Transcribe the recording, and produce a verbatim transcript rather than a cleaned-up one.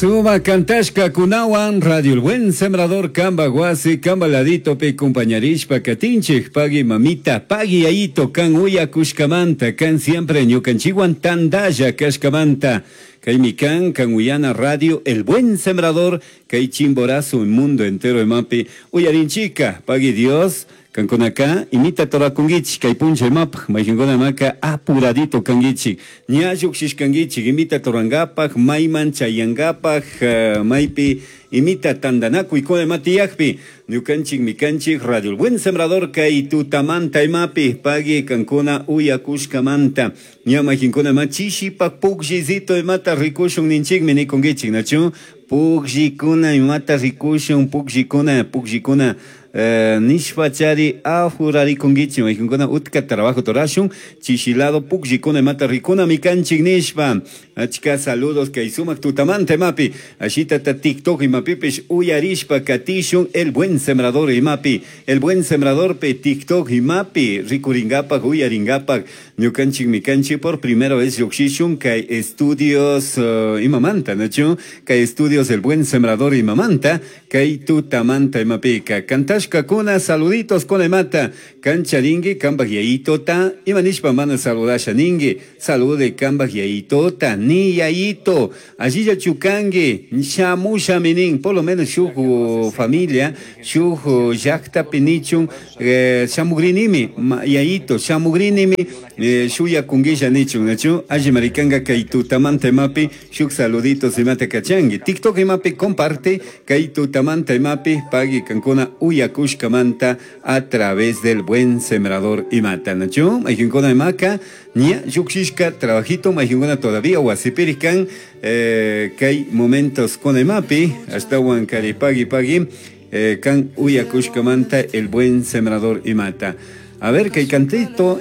Suma kantashkakunawan Radio El Buen Sembrador kamba wasi kamba laditopi compañarishpa katinchik pagui mamita pagui yayito kan uyakushkamanta kan siempre ñukanchikwan tandalla kashkamanta kaymi kan kan uyana Radio El Buen Sembrador kay Chimborazo mundo entero imapi uyarinchika pagui Dios kankunaka imita torakunkichik kay puncha imapaj mayqinkuna maka apuradito kankichik ña lluqshishkankichik imita torankapaj mayman chayankapaj uh, maypi imita tantanakuykuna ima tiyakpi ñukanchik mikanchik Radio El Buen Sembrador kay tutamanta imapi pagui kankuna uyakushkamanta ña mayqinkuna ima chishipak pukllisito imata rikushun ninchikmi nikunkichik nachu pukllikuna imata rikushun pukllikuna pukllikuna eh, nishpachari apurarikunkichik mayqinkuna utka trabajo torashun chishilado pukllikuna imata rikuna mikanchik nishpa achka saludos kay sumak tutamanta imapi ashitata TikTok imapipish uyarishpa katishun El Buen Sembrador imapi El Buen Sembradorpi TikTok imapi rikurinkapak uyarinkapak ñukanchik mikanchik por primera vez lluqshishun kay estudios uh, imamanta nachu kay estudios El Buen Sembrador imamanta kay tutamanta imapika kantashkakuna saluditos con imata kancharinki kambaj yayitota ima nishpa mana saludasha ninki salude kambaj yayitota ni yayito allillachu kanki shamushami nin por lo menos shuk familia shuk llaktapi nichun eh, shamugrinimi yayito shamugrinimi eh, shuyakunkilla nichun nachu alli marikanka kay tutamanta imapi shuk saluditos imata kachanki TikTok imapi comparte kay tutamanta imapi pagui kankuna uyakushkamanta a través del Buen Sembrador imata nachu mayqinkuna imaka ña lluqshishka trabajito mayqinkuna todavía wasipiri kan eh, kay momentos kuna imapi ashtawan kari pagui pagui eh, kan uyakushkamanta El Buen Sembrador imata a ver kay cantito.